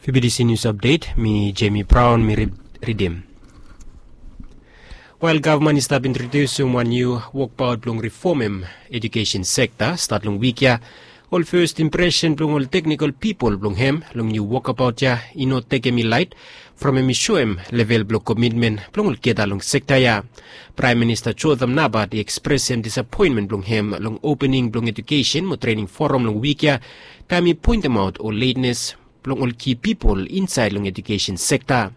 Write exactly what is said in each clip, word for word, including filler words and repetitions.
Fibidisi nius apdet, mi Jemi Braun mi ridim. Wel, gavman i stap introdiusim wan niu wokbaot blong rifomem ejukesen sekta stat long wik ya. Ol fes impresen blong ol teknikol pipol blong hem long niu wokabaot ya i no tekem i laet, from hem i soem level blong komitmen blong olgeta long sekta ya. Praem Minista Jotham Napat i ekspresem disapoenmen blong hem long opening blong ejukesen mo trening foram long wik ya, taem i poentemaot ol letnes blong ol ki pipol insaed long ejukesen sekta.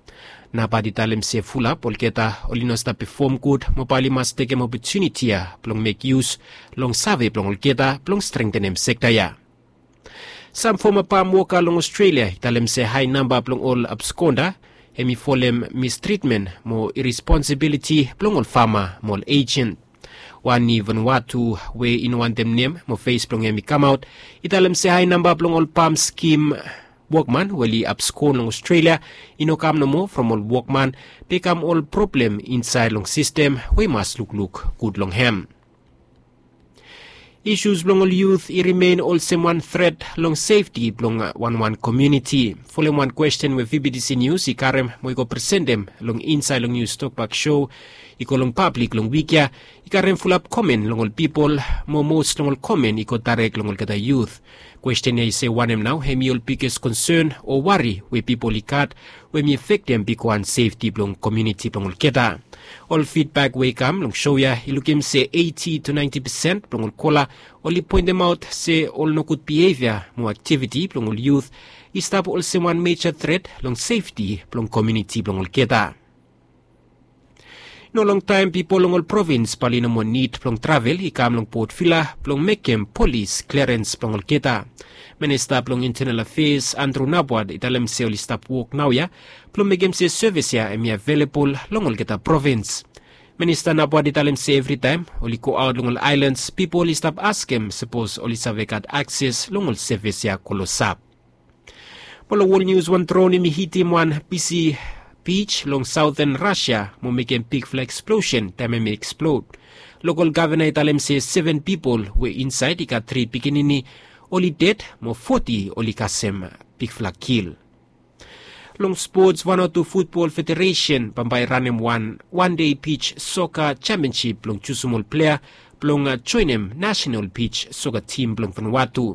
Napat i talem se fulap olgeta oli no stap pefom gud, mo bae oli mas tekem opotuniti ya blong mek yus long save blong olgeta blong strengtenem sekta ya. Sam foma pam woka long Ostrelia i talem se hae namba blong ol abskonda hem i folem mistritmen mo iresponsibiliti blong ol fama mo ol ejen. Wan i Vanuatu we i no wantem nem mo fes blong hem i kamaot i talem se hae namba blong ol pam skim wokman we oli abskon long Ostrelia i no kam nomo from ol wokman, be i kam ol problem insaed long sistem we i mas lukluk gud long hem. Isus blong ol yut i rimen olsem wan tret long sefti blong wanwan komuniti. Folem wan kwesten we Fibidisi Nius i karem mo i go presentem long insaed long nius tokbak so i go long pablik long wik ya, i karem fulap komen long ol pipol, mo mos long ol komen i go daerek long olgeta yut. Kwesten ya i se wanem nao hem i ol biges konsen o wari we pipol i gat, we hem i afektem bigwan sefti blong komuniti blong olgeta. Ol fidbak we i kam long so ya i lukim se eiti to naenti pesen blong ol kola oli poentemaot se ol nogud bihevia mo aktiviti blong ol yut i stap olsem wan meja tret long sefti blong komuniti blong olgeta. No longtaem pipol long ol provins bae oli no moa nid blong travel i kam long Port Vila blong mekem polis kliarens blong olgeta. Minista blong Intenal Afeas Andrew Napwat i talem se oli stap wok naoia blong mekem se sevis ya hem i avelabol long olgeta provins. Minista Napwat i talem se evritaem oli goaot long ol aelans pipol i stap askem sapos oli save gat akses long ol sevis ya klosap. Mo long wol nius, wan dron hem i hitim wan bisi bij long saoten Rasia mo mekem bigfala eksplosen taem hem i eksplod. Lokol gavana i talem se seven pipol we insaed i gat tri pikinini oli ded mo foti oli kasem bigfala kil. Long spots, Vanuatu Futbol Federesen bambae i ranem wan wan dei bij soka jempionsip blong jusum ol plea blong joenem nasenal bij soka tim blong Vanuatu.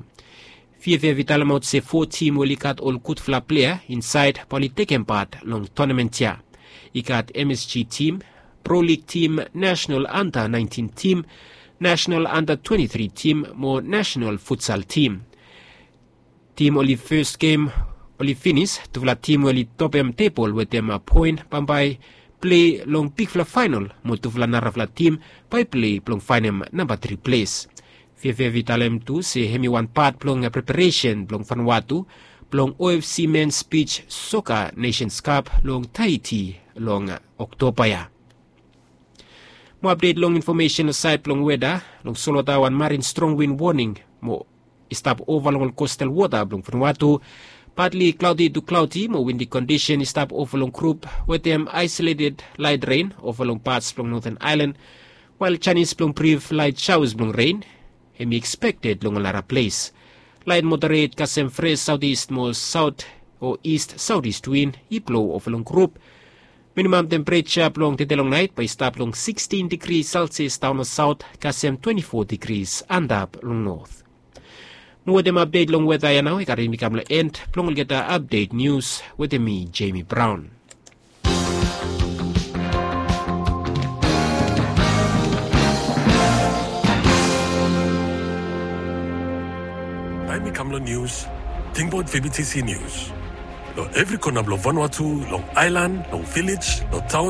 Fiafia i talemaot se fo tim we oli gat ol gudfala plea insaed bae oli tekem pat long tonamen ya. I gat M S G tim, Pro Lig tim, nasenal anda naentin tim, nasenal anda twenti tri tim mo nasenal futsal tim. Tim oli fes gem oli finis, tufala tim we oli topem tebol wetem poen bambae plei long bigfala faenol mo tufala narafala tim bae i plei blong faenem namba tri ples. Fiafia i talem tu se hem i wan pat blong preparesen blong Vanuatu blong O F C Mens Bij Soka Nesens Kap long Tahiti long Oktoba ya. Mo apdet long infomesen long saed blong weda. Long solwota, wan marin strong win woning mo i stap ova long ol kostal wota blong Vanuatu. Patli klaodi tu klaodi mo windi kondisen i stap ova long grup wetem aesoleted laet ren ova long pats blong Noten Aelan, wael janis blong brif laet saos blong ren hem i ekspekted long ol nara ples. Laet moderet kasem fres saotis mo saot o ist saotis win i blo ova long grup. Minimam tempereja blong tede long naet bae i stap long sikstin digri Celsius daon long saot kasem twenti fo digri antap long not. Mo wetem apdet long weda ya nao i karim mi kam long en blong olgeta apdet nius wetem mi, Jemi Braon. Taem i kam long nius, tingbaot V B T C Nius. Long evri kona blong Vanuatu, long aelan, long vilej, long taon,